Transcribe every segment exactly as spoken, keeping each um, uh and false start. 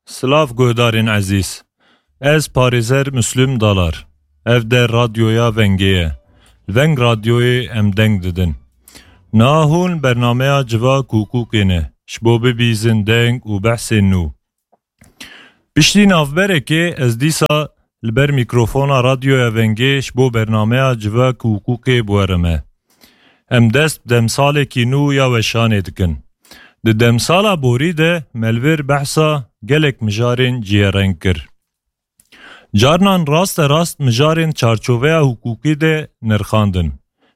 Silav guhdarên ezîz. Ez parêzer Müslüm Dalar. Ev de radyoya Vengê ye. Li Veng Radyoyê em deng didin. Niha hûn bernameya Civak û Hukûkê ne. Ji bo bibîzin deng û behsên nû. Piştî navberekê ez dîsa li ber mîkrofona Radyoya Vengê ji bo bernameya Civak û Hukûkê bi we re me. Em dest bi demsalekî nû ya weşanê dikin. Di demsala borî de me li vir behsa gelek mijarên cihêreng kir. Carnan raste rast mijarên çarçoveya hukûkî de nirxandin.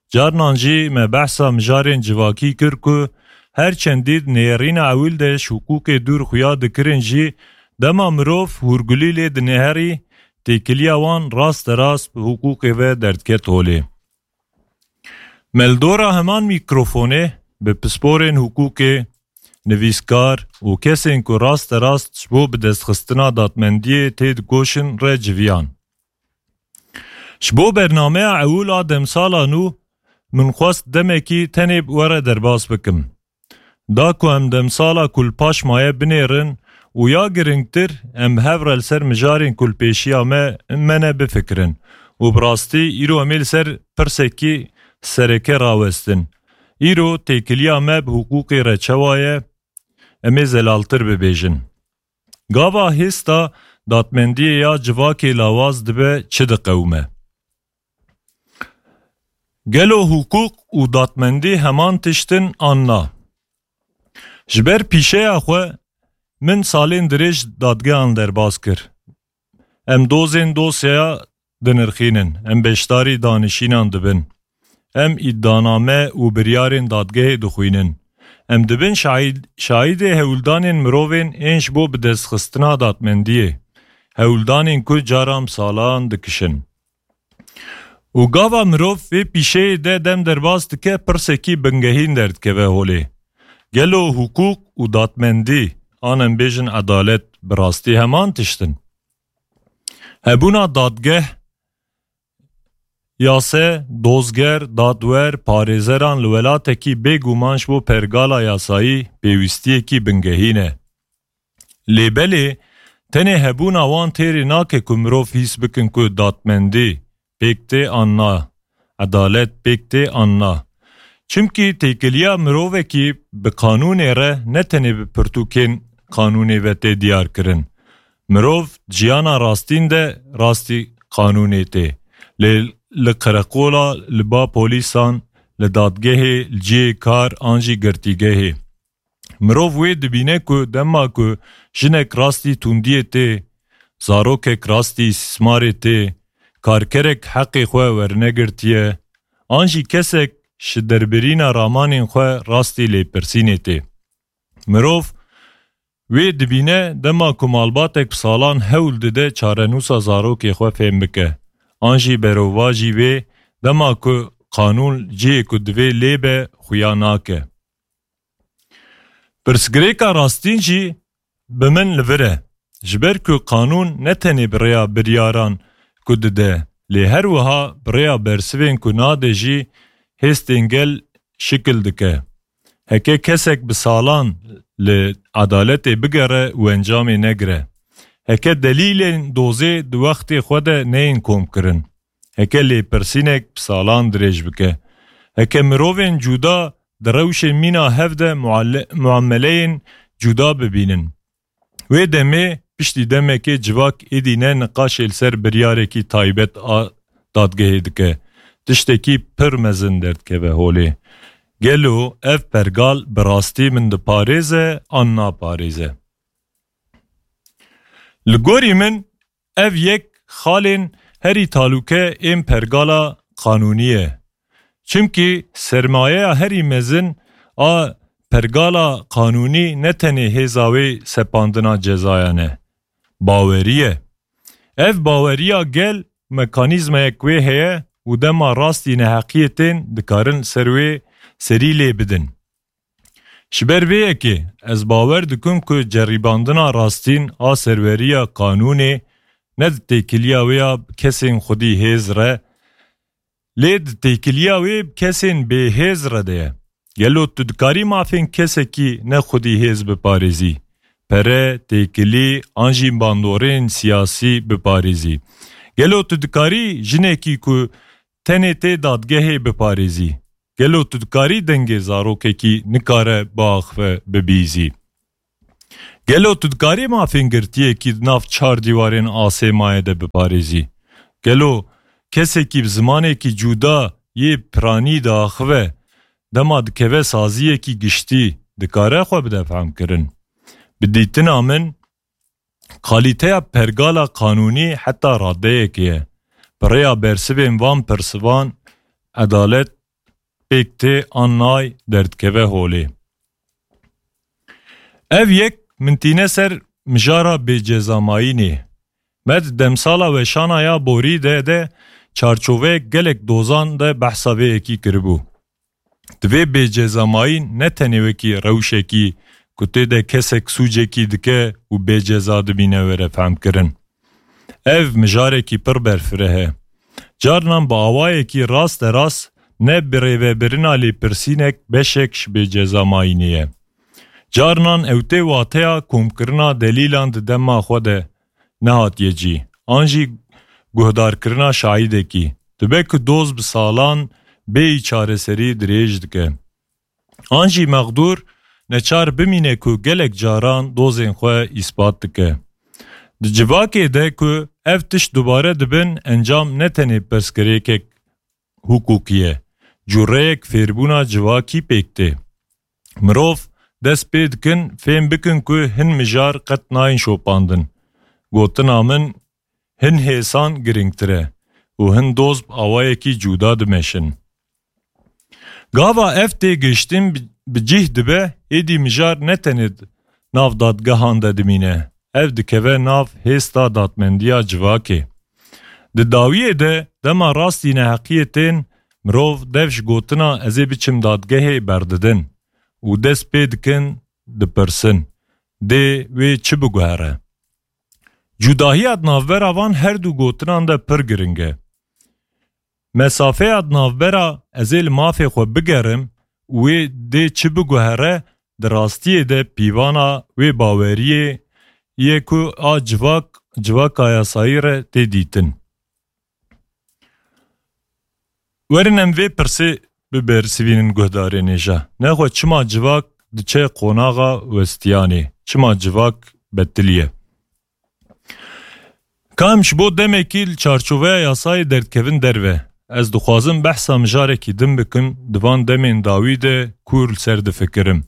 Carnan jî me behsa mijarên civakî kir ku her çendî di nêrîna ewil de ji hukûkê dûr xuya dikirin jî, dema mirov hûrgulî lê dinêherî, têkiliya wan raste rast bi hukûkê ve derdiket holê. Me li dora heman mîkrofonê bi pisporên hukûkê, nivîskar û kesên ku raste rast ji bo bidestxistina dadmendiyê têdikoşin re civiyan. Ji bo bernameya ewil a demsala nû min xwest demekî tenê bi we re derbas bikim. Da ku em demsala ku li paş maye binêrin û ya giringtir em bi hev re li ser mijarên ku li pêşiya me, me ne bifikirin û bi rastî îro em ê li ser pirsekî sereke rawestin. Îro têkiliya me bi hukûkê re çawa ye? Em ê zelaltir bibêjin. Gava hêsta dadmendiyê ya civakê lawaz dibe çi diqewime? Gelo hukuk û dadmendî heman tişt in an na? Ji ber pîşeya xwe min salên dirêj dadgehan derbas kir. Em dozên dosyaya dinirxînin, em beşdarî danişînan dibin. Em îdianame û biryarên dadgehê dixwînin. Em dibin şahîd-, şahîdê hewldanên mirovên ên ji bo bidestxistina dadmendiyê. Hewldanên ku caran bi salan dikişin. Û gava mirov vê pîşeyê de dem derbas dike, pirsekî bingehîn derdikeve holê. Gelo hukuk û dadmendî, an em bêjin edalet, bi rastî heman tişt in? Hebûna dadgeh, yase, dozger, dadwer, parêzeran li welatekî bêguman ji bo pergala yasayî pêwîstiyekî bingehîn e. Lê belê tenê hebûna wan têrê nake ku mirov hîs bikin ku dadmendî pêk tê an na, edalet pêk tê an na. Çimkî têkiliya mirovekî bi qanûnê re ne tenê bi pirtûkên qanûnê ve tê diyar kirin. Mirov di jiyana rastîn de rastî qanûnê tê. Lê li qereqola, li ba polîsan, li dadgehê, li cihê kar an jî girtîgehê. Mirov wê dibîne ku dema ku jinek rastî tundiyê tê, zarokek rastî îstismarê tê, karkerek heqê xwe wernegirtiye, an jî kesek ji derbirîna ramanên xwe rastî lêpirsînê tê. Mirov wê dibîne dema ku malbatek bi salan hewl dide çarenûsa zarokê xwe fêm bike, an jî berovajî wê dema ku qanûn cihê ku divê lê be xuya nake. Pirsgirêka rastîn jî bi min li vir e. Ji ber ku qanûn ne tenê bi rêya biryaran ku dide, lê her wiha bi rêya bersivên ku nade jî hêstên gel şikil dike. Heke kesek bi salan li edaletê bigere û encamê negire, heke delîlên dozê di wextê xwe de neyên komkirin, heke lêpirsînek bi salan dirêj bike, heke mirovên cuda di rewşên mîna hev de muale-, muameleyên cuda bibînin, wê demê piştî demekê civak êdî ne niqaşê li ser biryarekî taybet a dadgehê dike. Tiştekî pir mezin derdikeve holê. Gelo ev pergal bi rastî min diparêze an naparêze? Li gorî min, ev yek xalên herî talûke ên pergala qanûnî ye. Çimkî sermayeya herî mezin a pergala qanûnî ne tenê hêza wê sepandina cezayan e. Bawerî ye. Ev baweriya gel mekanîzmayek wê heye û dema rastî neheqiyê tên dikarin ser wê serî lê bidin. Ji ber vê yekê ez bawer dikim ku ceribandina rastîn a serweriya qanûnê ne di têkiliya wê ya kesên xwedî hêz re, lê di têkiliya wê kesên bêhêz re de ye. Gelo tu dikarî mafên kesekî ne xwedî hêz biparêzî? pere, têkilî an jî bandorên siyasî biparêzî? Gelo tu dikarî jinekî ku tenê tê dadgehê biparêzî? Gelo tu dikarî dengê zarokekî nikare biaxive bibîzî? Gelo tu dikarî mafên girtiyekî di nav çar dîwarên asê maye de biparêzî? Gelo kesekî bi zimanekî cuda yê piranî diaxive, dema dikeve saziyekî giştî, dikare xwe bide fehmkirin? Bi dîtina min, kalîteya pergala qanûnî heta radeyekê ye. Bi rêya bersivên van persivan edalet pêk tê an nay derdikeve holê. Ev yek min tîne ser mijara bêcezamayînê. Me di demsala weşana ya borî de de çarçoveyek gelek dozan de behsa vê yekî kiribû. Divê bêcezamayîn ne tenê wekî rewşekî ku tê de kesek sûcekî dike û bêceza dimîne were fehmkirin. Ev mijarekî pir berfireh e. Carnan bi awayekî rasterast ne birêvebirina lêpirsînek beşek ji bêcezamayînê ye. Carnan ew tê wateya komkirina delîlan di dema xwe de nehatiye cî, an jî guhdarkirina şahîdekî. Dibe ku doz bi salan bêyî çareserî dirêj dike. An jî mexdûr neçar bimîne ku gelek caran dozên xwe îspat dike. Di civakê de ku ev tişt dubare dibin, encam ne tenê pirsgirêkek hukukî ye, cureyek fêrbûna civakî pêk tê. Mirov dest pê dikin fêm bikin ku hin mijar qet nayên şopandin. Gotina min, hin hêsan girîngtir e û hin doz bi awayekî cuda dimeşin. Gava ev têgihiştin bi, bi cih dibe, êdî mijar ne tenê nav dadgehan de dimîne, ev dikeve nav hêsta dadmendiya civakê. Di dawiyê de dema rastî neheqiyê tên, mirov dev ji gotina "ez ê biçim dadgehê" berdidin û dest pê dikin dipirsin, dê wê çi biguhere? Cudahiya di navbera van her du gotinan de pir giring e. Mesafeya di navbera "ez ê li mafê xwe bigerim" û "wê dê çi biguhere" di rastiyê de pîvana wê baweriyê ye ku a civak, civaka yasayî re tê dîtin. Werin em vê pirsê bibersivînin guhdarên hêja. Nexwe çima civak diçe qonaxa westiyanê? Çima civak betilî ye? Ka em ji bo demekî li çarçoveya yasayê derdikevin derve, ez dixwazim behsa mijarekî din bikim, di van demên dawî de ku li ser difikirim.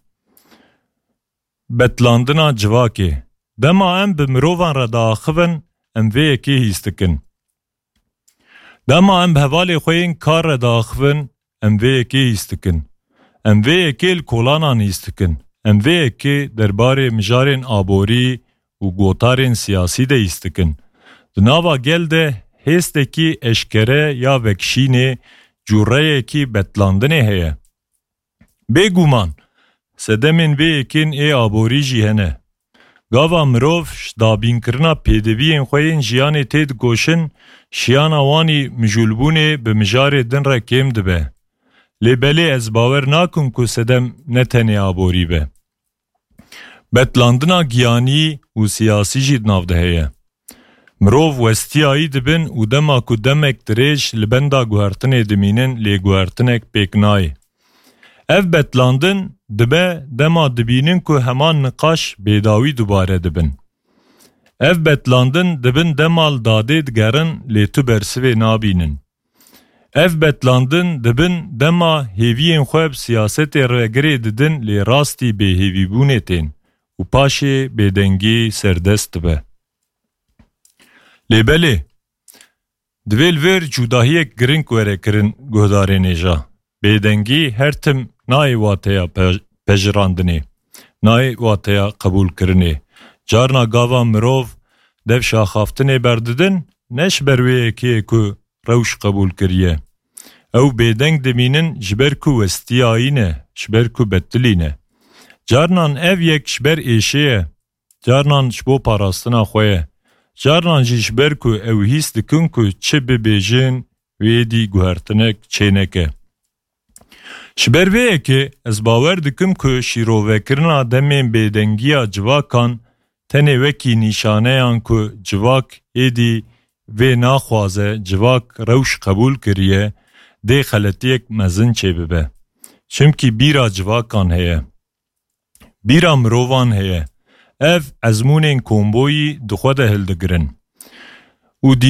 Betlandina civakê. Dema em bi mirovan re diaxivin, em vê yekê hîs dikin. Dema em bi hevalê xwe yên kar re diaxivin, em vê yekê hîs dikin. Em vê yekê li kolanan hîs dikin. Em vê yekê derbarê mijarên aborî û gotarên siyasî de hîs dikin. Di nava gel de hêstekî eşkere ya vekişînê, cûreyekî betlandinê heye. Bêguman, sedemên vê yekên ê aborî jî hene. Gava mirov ji dabînkirina pêdiviyên xwe yên jiyanê tê dikoşin, şiyana wanî mijûlbûnê bi mijarê din re kêm dibe. Lê belê ez bawer nakim ku sedem ne tenê aborî be. Betlandina giyanî û siyasî jî di nav de heye. Mirov westiyayî dibin û dema ku demek dirêj li benda guhertinê dimînin, lê guhertinek pêk nayê. Ev betlandin dibe dema dibînin ku heman niqaş bêdawî dubare dibin. Ev betlandin dibin dema li dadê digerin, lê tu bersivê nabînin. Ev betlandin dibin dema hêviyên xwe bi siyasetê re girê didin, lê rastî bêhêvîbûnê tên û paşê bêdengî serdest dibe. Lê belê, divê li vir cudahiyek giring were kirin guhdarên hêja. Bêdengî her tim nayê wateya pe-, pejirandinê, nayê wateya qebûlkirinê. Carna gava mirov dev şaxaftinê berdidin, ne ji ber wê yekê ye ku rewş qebûl kiriye. Ew bêdeng dimînin ji ber ku westiyayî ne, ji ber ku betilî ne. Carnan ev yek ji ber êşê ye, carnan ji bo parastina xwe ye. Carnan jî ji ber ku ew hîs dikin ku çi bibêjin, wê dî guhertinek çêneke. Ji ber vê yekê ez bawer dikim ku şîrovekirina demên bêdengiya civakan tenê wekî nîşaneyan ku civak êdî vê naxwaze, civak rewş qebûl kiriye, dê xeletiyek mezin çêbibe. Çimkî bîra civakan heye. Bîra mirovan heye. Ev ezmûnên komboyî di xwe de hildigirin. Û